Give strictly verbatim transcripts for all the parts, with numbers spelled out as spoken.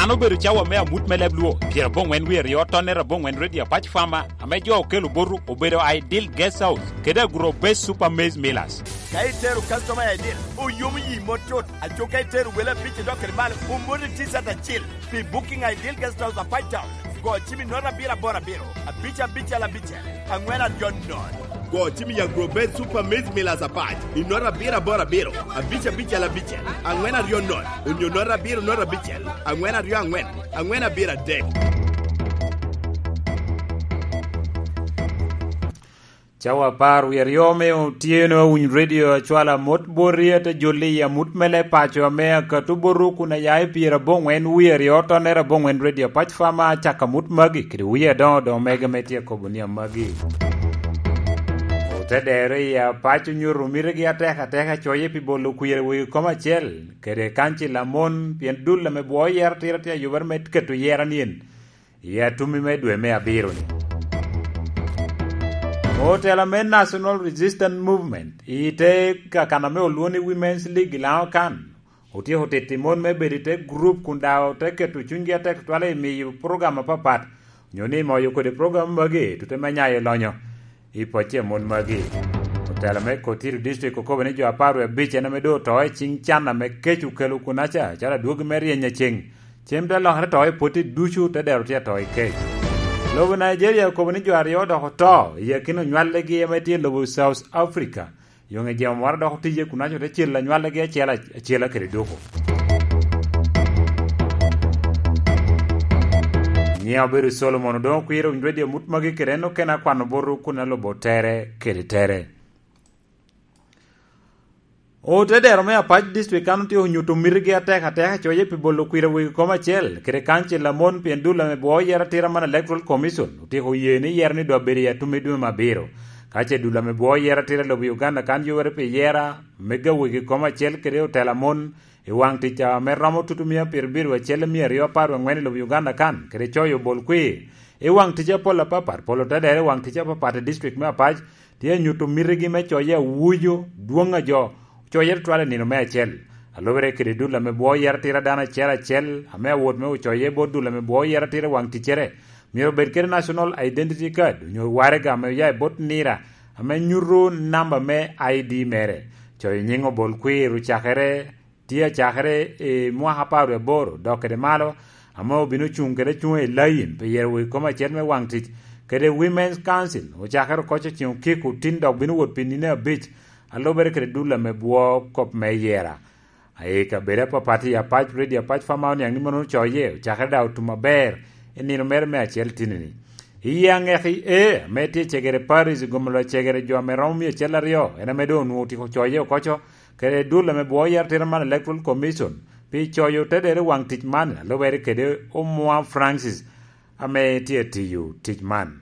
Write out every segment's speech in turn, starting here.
An obedo cawa me amut me leb Luo, pyeraboŋwen wie aryo tonnere aboŋwen Radio Apac Farmer, ame jo okelo botu obedo Ideal Guest House kede Agro Base Super Maize Millers. Ka itero customer i Ideal, oyomo yi mot cut. Aco ka itero wele abic idok kede malo, omoti T-shirt acil. Pi booking Ideal Guest House Apac Town, go cim i nota abiro aboro abiro, abic abicel abicel, aŋwen aryo nono. Go cim i Agro Base Super Maize Millers Apac i nota abiro aboro abiro, abic abicel abicel, aŋwen aryo nono, onyo nota abiro nota abicel, aŋwen aryo aŋwen, aŋwen abiro adek. Cawa apar wie aryo me otyeno, awiny redio acwala amot boti, ate jolli i amut me leb paco ame akato botu kun aya i pyeraboŋwen wie aryo tonnere aboŋwen Radio Apac Farmer, acako amut magi kede wie adoŋo doŋ mege ame tye akobo ni amagi. Ote dero i Apac onyuto mitigi atek ateka coye pi bolo kwir i wegi kom acel kede kancil a mon, pien dul ame bwoo yero tira tye ayubere me keto yera nien i atummi me dwe me abiro-ni. Otela me National Resistance Movement i te kakana me olwoŋo ni Women's League i Laŋo kan otyeko tito mon me bedo i te gurup kun daŋ ote keto cunygi atek tutwal i miyo program apapat, onyo ni moyo kodi program magi tute me nyayo lonyo i pacci a mon magi. Otela me Kotiri District okobo ni jo apar wie abic en ame doŋ oto i ciŋ can ame kec okelo kunaca, calo adwogi me ryeny aceŋ. Cem te lokere to i potti ducu, te dero tye ato i kec. Lobo Nigeria okobo ni jo aryo dok oto i akina onywallegi ame tye i lobo South Africa. Yoŋe jemo moro dok otiye kunaco te celo anywallegi acel acela kede doko. Nyiŋa obedo Solomon, odoŋo kwiro winy redio mut magi kede en okene akwano botu kun alubo tere kede tere. Otedero me Apac District kan otyeko nyuto mitigi atek ateka coye pi bolo kwir i wegi kom acel kede kancil a mon pien dul ame bwoo yero atira man Electoral Commission otyeko oye ni yero ni doŋ abedo i atum i dwe me abiro. Ka ce dul ame bwoo yero atira i lobo Uganda kan yubere pi yera me ga wegi kom acel kede otela mon i waŋ tic ame romo tutumia pyerabiro acel mia aryo apar waŋwen i lobo Uganda kan kede coyo bol kwir i waŋ tic apol apapat, polo tedero i waŋ tic apapat i district me Apac, tye anyuto mitigi me coye awujo dwoŋ a jo ocoye tutwal i nino me acel. Alubere kede dul ame bwoo yero atira dano acel acel ame awot me ocoye bot dul ame bwoo yero atira i waŋ ticcere, myero obed kede National Identity Card onyo waraga ame oya i bot nira ame nyuto namba me I D mere. Coyo nyiŋ obol kwir ocakere tye acakere i mwaka apar wie aboro dok kede malo, ame obino cuŋ kede acuŋa i layin pi yero wegi kom acel me waŋ tic kede Women's Council, ocakere oko ceŋ okiko tin dok bino wot pi nino abic, alubere kede dul ame bwoo kop me yera. I kabedo apapat i Apac, Radio Apac Farmer oniaŋ ni mono ocoye ocakere daŋ otum aber i nino mere me acel tinini. I aŋeki e ame tye i Cegere Parish, gomolo Cegere jo ame romo mia acel aryo en ame doŋ onwoŋo otyeko coye oko co, kede dul ame bwoo yero atira man Electoral Commission pi coyo tedere waŋ tic man, alubere kede Omwa Francis ame tye atiyo tic man.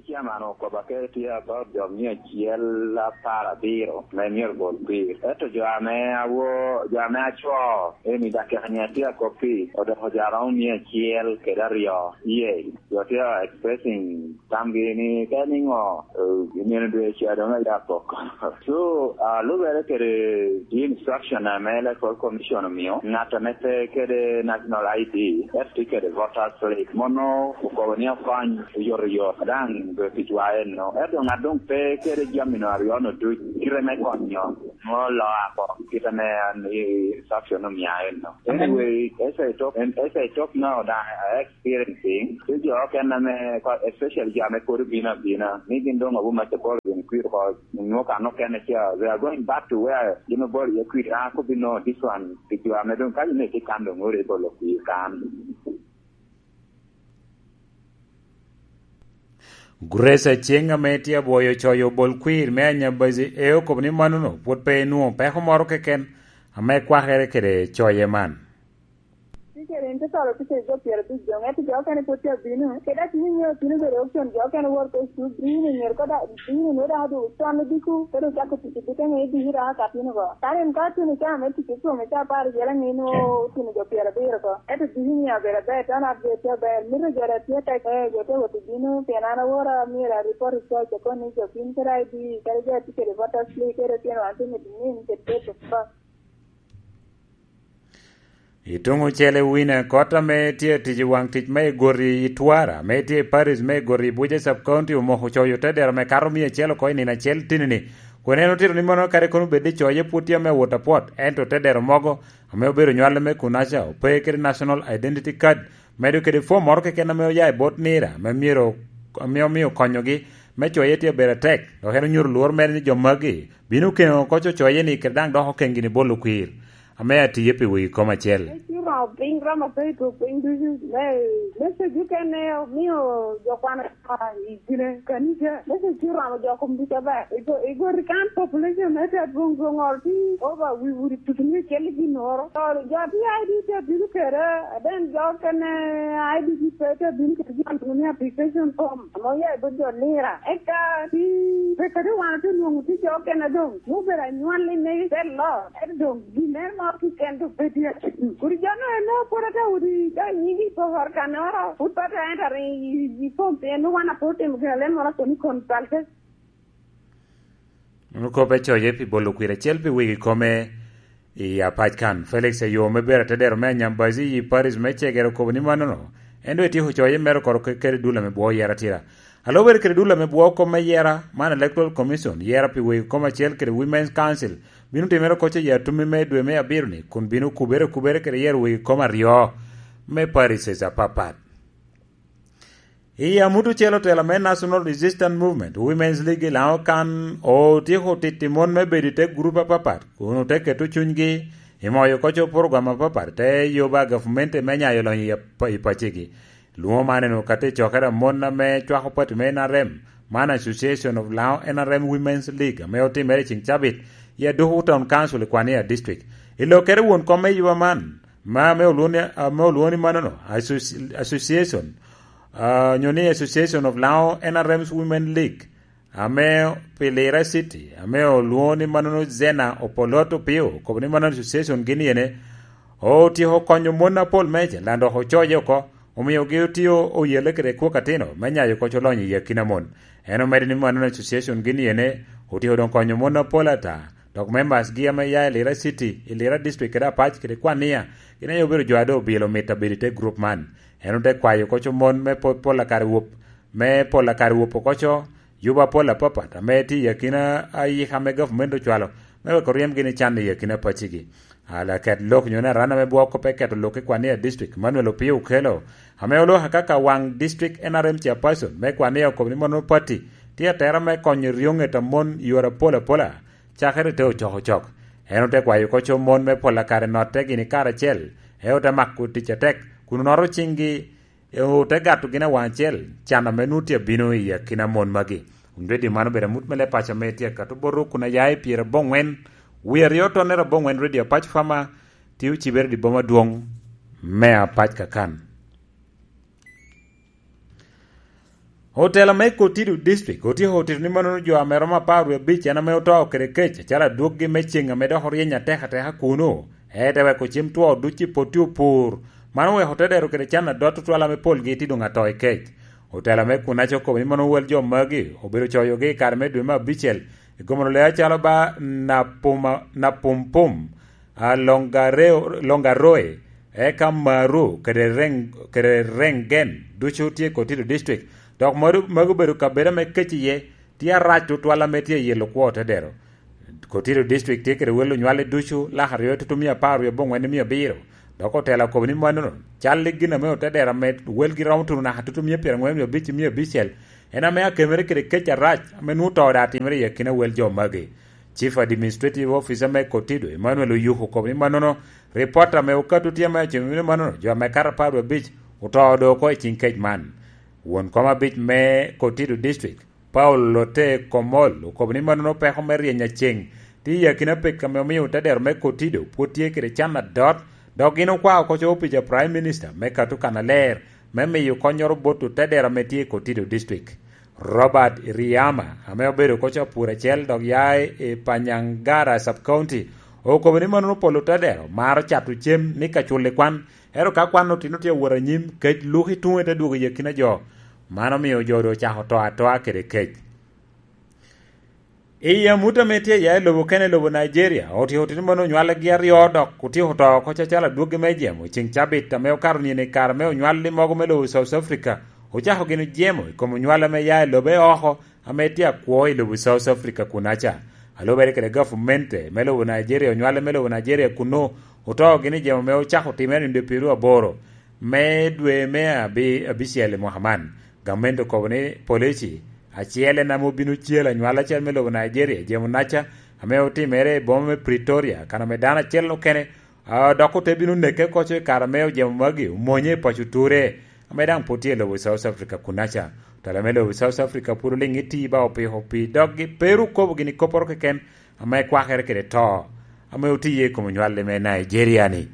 Chairman okobo ake tye about jo mia acel apar abiro me myero bol kwir. Ento jo ame awo, jo ame aco, eni dakika nya tye akop pi, odoko jo aromo mia acel kede aryo. Yee, jo tye expressing tamgi ni ka niŋo, eh, i nino dwe ca doŋ aya pok. So, ah, lubere kede the instruction ame Electoral Commission omio, ŋat ame pe kede National I D, ento tye kede voters slip, mono okobo ni okony oyotoyot daŋ dwe ticwa enno. Ento ŋat doŋ pe kede jami-nu aryo-nu duc, kite me konyo nwoŋo loo ako, kite ame an i instruction omia enno. Anyway, as I talk, as I talk now, daŋ experiencing, tye jo okene ame, especially jo ame pwod obino abina, ni gin doŋ abu maca bolo gin kwir oko, nwoŋo kan okene ca, they are going back to where gin obolo iye kwir. An akobbi no, this one, pi jo ame doŋ ka gin eki kan doŋ ori bolo kwir kan. Grace Aceng ame tye abwoyo coyo bol kwir me Anyabazi e okobo ni manono pwod pe enwoŋo peko moro keken ame kwakere kede coye man. Ticeri in te toro ticeri jo pyerabic doŋ, ento jo okene pwod tye abino. Kede atini nyo otino bedo option jo okene wot ko cuk, bino myero ko da-, bino nwoŋo dok odwogo con odiko, kede ocako tic i bute ŋe idiki dok akatino ko. Kan in ka atino ca me tic i kome ca apar yela ŋe nwoŋo otino jo pyerabiro ko. Ento diki nyo abedo aber, tan at ger tye aber. Mito jo da tye tek, eh, jo tye wot i bino, pien an awora myero aripot i church, akon ni jo piny kede I D, kede jo a tye kede voters slip, kede tyen wan tye mito nin kede date of birth. I tuŋ ocele wine, kot ame tye atic i waŋ tic me igoti i Twara, ame tye i Paris me igoti i Buja Sub County, omoko coyo te dero me kato mia acel oko i nino acel tinini, kun en otito ni mono kadi kono bed ni coye pwod tye ame awot apwot, ento te dero mogo ame obedo nywale me Kunaca ope kede National Identity Card, medo kede fom moro keken ame oya i bot Nira, ame myero, ame omio konyogi me coye tye abedo atek, dok en onyuto lworo mere ni jo magi bino keŋo oko cocoye-ni kede daŋ doko keŋgi-ni bolo kwir, ame atiye pi wegi kom acel. Eciro piny romo pe i tuk piny ducu, me, me cego kene omio jo kwana i gine kanija, me cego romo jo kom ducu aber. Igo-, igoti kan population me te adwoŋ dwoŋ oro ti over wi udi tutu mia acel i ginnoro. To jo ti I D te bino kede, then jo kene I D P pe te bino kede jo ni application form. Ame oya i bot jo Nira. Eka ti, pe kadi wan otye nwoŋo ti jo okene doŋ, me obedo anywalli me te lot, ento doŋ gin en moro keken doŋ pe tye. Kodi jo no en no pwod ata udi, ka nyigi i pokoro kanoro, pwod pe ata enter i, i, i form pien wan apwod otimo gin alen moro akoni consultation. Ono kop ecoye pi bolo kwir acel pi wegi kome i apac kan. Felix Ayo me bedo atedero me Anyambazi i Paris me Cegere okobo ni mannono, en doŋ etyeko coye mere oko ke-, kede dul ame bwo yera tira. Alo bedo kede dul ame bwo kom me yera, man Electoral Commission, yera pi wegi kom acel kede Women's Council, bino timere oko ce i atumi me dwe me abiro-ni, kun bino kubere kubere kede yero wegi kom aryo me Paris apapat. I amut ocel otela me National Resistance Movement, Women's League i Laŋo kan otyeko titi mon me bedo i te gurup apapat, kun ote keto cunygi i moyo koco program apapat, te yoba gavumenti me nyayo lonyo i ap-, i pacigi. Lwoŋo man eno ka te cokere a mon ame cwako pati me N R M, man Association of Laŋo N R M Women's League, ame otimere i ceng cabit i Aduku Town Council i Kwania District. I lokkere won kom me yoba man, ma ame olwoŋo ni, ame olwoŋo ni manono, associ-, association, ah, nyo ni Association of Laŋo N R M's Women League, ame pi Lira City, ame olwoŋo ni manono Zena Opolot Opio, okobo ni manono association gin yene, otyeko konyo mon apol meicel, lan dok ocoye oko, omiogi otio oyelle kede kwok atino, me nyayo koc olonyo i akina mon. En omedo ni manono association gin yene, otyeko doŋ konyo mon apol ata, dok members gi ame ya i Lira City, i Lira District kede Apac kede Kwania, gin aye obedo jo a doŋ obilo mit abedo i te group man. En ote kwayo koco mon me po-, pol akare wop, me pol akare wop okoco, yubo apol apapat, ame tye i akina ayika ame gavumenti ocwalo, me weko ryemgi ni can i akina pacigi. Alaket lok nyo ni aran ame bwoko pe keto lok i Kwania District, Manuel Opio Okello, ame oloko akaka waŋ District N R M Chairperson me Kwania okobo ni mono pati tye atera me konyo ryoŋet a mon i yore apol apola, cakere te ocok ocok. En ote kwayo koco mon me pol akare notte gini karacel, e ote mako tic atek, kun onoto ciŋgi, e ote gato gin awaŋ acel, can ame nwoŋo tye abino i akina mon magi. Wun redio man obedo amut me leb paco ame tye akato botwu kun aya i pyerabongwen, wie aryo tonnere abongwen redio Apac Fama, tye ocibere i boma adwoŋ me Apac Kakan. Otela me Kotido District otyeko otito ni manono jo ame romo apar wie abic en ame oto kede kec, acalo adwoggi me ceŋ ame dok oryeny atek ateka kuno, ete weko cem two duc i potti opur. Man oweko te dero kede can adot tutwal ame polgi tye doŋ ato i kec. Otela me Kunaca okobo ni mano wel jo magi obedo coyogi i kare me dwe me abicel, i gomoro le acalo ba Napuma-, Napumpum, a, Longareo-, Longaroe, eka Maru, kede Reng-, kede Rengen, ducu tye i Kotido District. Dok magi, magi obedo kabedo ame kec iye, tye arac tutwal ame tye i yelo kwo te dero. Kotido District tye kede wel onywale ducu, lak aryo tutu mia apar wie abongwen i mia abiro. Dok otela okobo ni manono, cal i gin ame ote dero ame welgi romo tuno naka tutu mia pyerangwen wie abic i mia abicel, en ame akemere kede kec arac ame nwoŋo to daŋ timere i akina wel jo magi. Chief Administrative Officer me Kotido, Emmanuel Oyuku, okobo ni manono, ripot ame okato tye ame acimo ni manono, jo ame kato apar wie abic oto doŋ oko i ciŋ kec man. Won kom abic me Kotido District, Paul Lote Komol, okobo ni manono peko me ryeny aceŋ tye i akina pek ame omio te dero me Kotido pwod tye kede can adot, dok gin okwao koco opic a Prime Minister me kato kannaler me miyo konnyoro bot otedero ame tye i Kotido District. Robert Iriama, ame obedo koco apur acel dok ya i Panyangara Sub County, okobo ni manono pol otedero maro cato cem ni ka culo i kwan, ento ka kwan otino tye awot anyim, kec luk i tuŋe te dwogo i akina jo. Man omio jo doŋ ocako to atoa kede kec. I amut ame tye ya i lobo kene i lobo Nigeria, otiko otino mano onywalgi aryo dok otiko oto oko cacalo adwoggi me jemo i ceŋ cabit ame okato nino i kare me onywalli mogo me lobo South Africa. Ocako gin jemo i kom onywal ame ya i lobe oko ame tye akwo i lobo South Africa kunaca. Alubere kede gavumenti me lobo Nigeria, onywale me lobo Nigeria kuno oto gin i jemo ame ocako timere i nino pyeraryo aboro me dwe me abi-, abicel i mwaka man. Gavumenti okobo ni polici acel en ame obino cel anywal acel me lobo Nigeria, jemo naca ame otimere i boma me Pretoria, kan ame dano acel okene, a, dok ote bino neke koco i kare ame ojemo magi omonye i paco Ture, ame daŋ pwod tye i lobo South Africa kunaca. Otela me lobo South Africa pwod oliŋ iti ba opiko pi doggi, pe ru kobo gini kopporo keken ame kwakere kede to, ame otiye i kom onywalli me Nigeria-ni.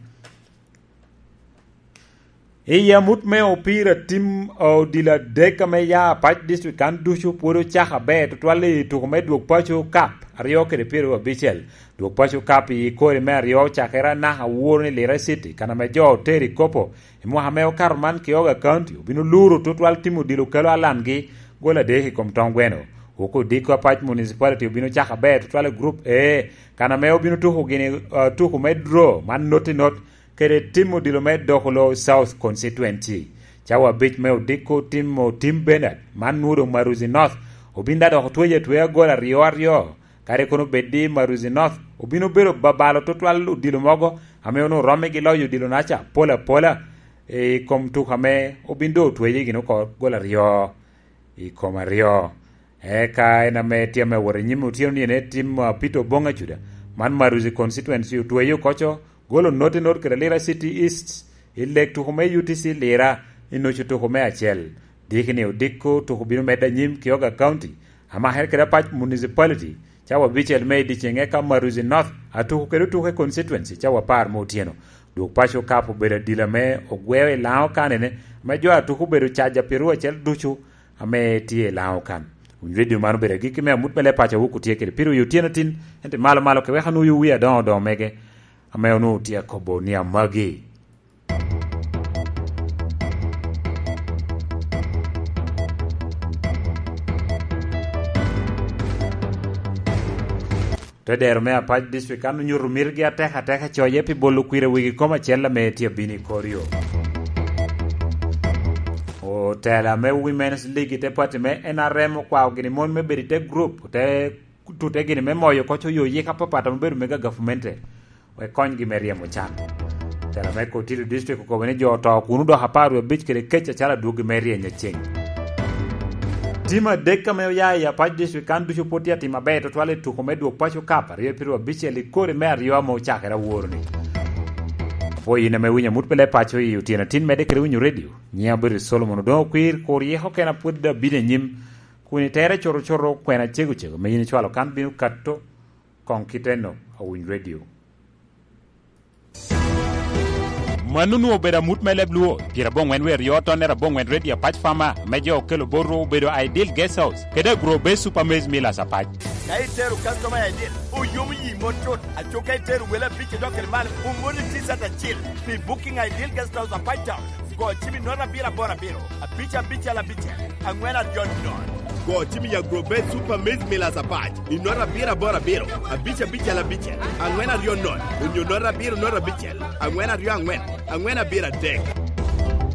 I amut me opira, tim odilo adek ame ya Apac District kan ducu pwod ocako aber tutwal i tuko me Dwog Paco Cup aryo kede pyeraryo abicel. Dwog Paco Cup i kori me aryo ocakere anaka aworo ni Lira City, kan ame jo otero i kopo i mwaka ame okato man, Kioga County obino luro tutwal tim odilo kelo alangi gol adek i kom tong gweno. Wok odiko Apac Municipality obino cako aber tutwal i Group A, kan ame obino tuko gini, uh, tuko me draw man noti not kede tim odilo me Dokolo South Constituency. Cawa abic me odiko tim o Tim Bernard, man nwodo Maruzi North, obin da dok otweyo atweya gol aryo aryo. Kadi kono bed ni Maruzi North obin obedo babalo tutwal odilo mogo ame onwoŋo romme gi loyo odilo naca pol apola i kom tuko ame obin doŋ otweyo gin oko gol aryo i kom aryo. Eka en ame tye ame wot i nyim otyeno ni en tim, ah, Peter Oboŋ Acuda, man Maruzi Constituency, otweyo koco golo noti not kede Lira City East i leg tuko me U T C Lira i nucu tuko me acel. Diki ni odiko tuko bino medde anyim Kioga County, amakere kede Apac Municipality, cawa abicel me i dyeceŋ, eka Maruzi North atuko kede otuko i constituency cawa apar me otyeno. Dwog Paco Cup obedo adila me ogweo i Laŋo kanene, ame jo atuko obedo caja pyeraryo acel ducu ame tye i Laŋo kan. Winy redio man obedo agikki me amut me leb paco a Wok otye kede pire i otyeno tin, ento malo malo ke wek anwoŋ wie adoŋo doŋo mege ame onwoŋo tye akobo ni amagi. Te dero me Apac District kan onyuto mitgi atek ateka coye pi bolo kwir i wigi kom acel ame tye abino i kor yo. Otela me Women's League i te pati me N R M okwao gini mon me bedo i te group, te tute gini me moyo koc oyo yik apapat ame obedo mega gavumenti, wek konygi me ryemo can. Otela me Kotito District okobo ni jo oto kun odoko apar wie abic kede kec acalo adwogi me ryeny aceŋ. Tim adek ame oya i Apac District kan ducu pwod tye atim aber tutwal i tuko me Dwog Paco Cup aryo pyeraryo abicel i kori me aryo ame ocakere aworo-ni. Apwoyo in ame winyo amut pi leb paco i otyeno tin, medde kede winyo redio. Nyiŋa obedo Solomon Odoŋo Kwir, kur yiko kena pwod abino i nyim, kun itere cuto cuto kwena cego cego ame in icwalo kan bino kato koŋ kite enok awiny redio. Mano onwoŋo obedo amut me leb Luo, pyeraboŋwen wie aryo tonnere aboŋwen redio Apac Farmer, ame jo okelo botwu obedo Ideal Guest House, kede Agro Base Super Maize Millers Apac. Ka itero customer Ideal, oyomo yi mot cut, aco ka itero wele abic idok kede malo, omoni T-shirt acil pi booking Ideal Guest House Apac Town. Go cim i note abiro aboro abiro, abic abicel abicel, angwen aryo nono. Go cim i Agro Base Super Maize Millers Apac i note abiro aboro abiro, abic abicel abicel, angwen aryo nono, onyo note abiro note abicel, angwen aryo angwen, angwen abiro adek.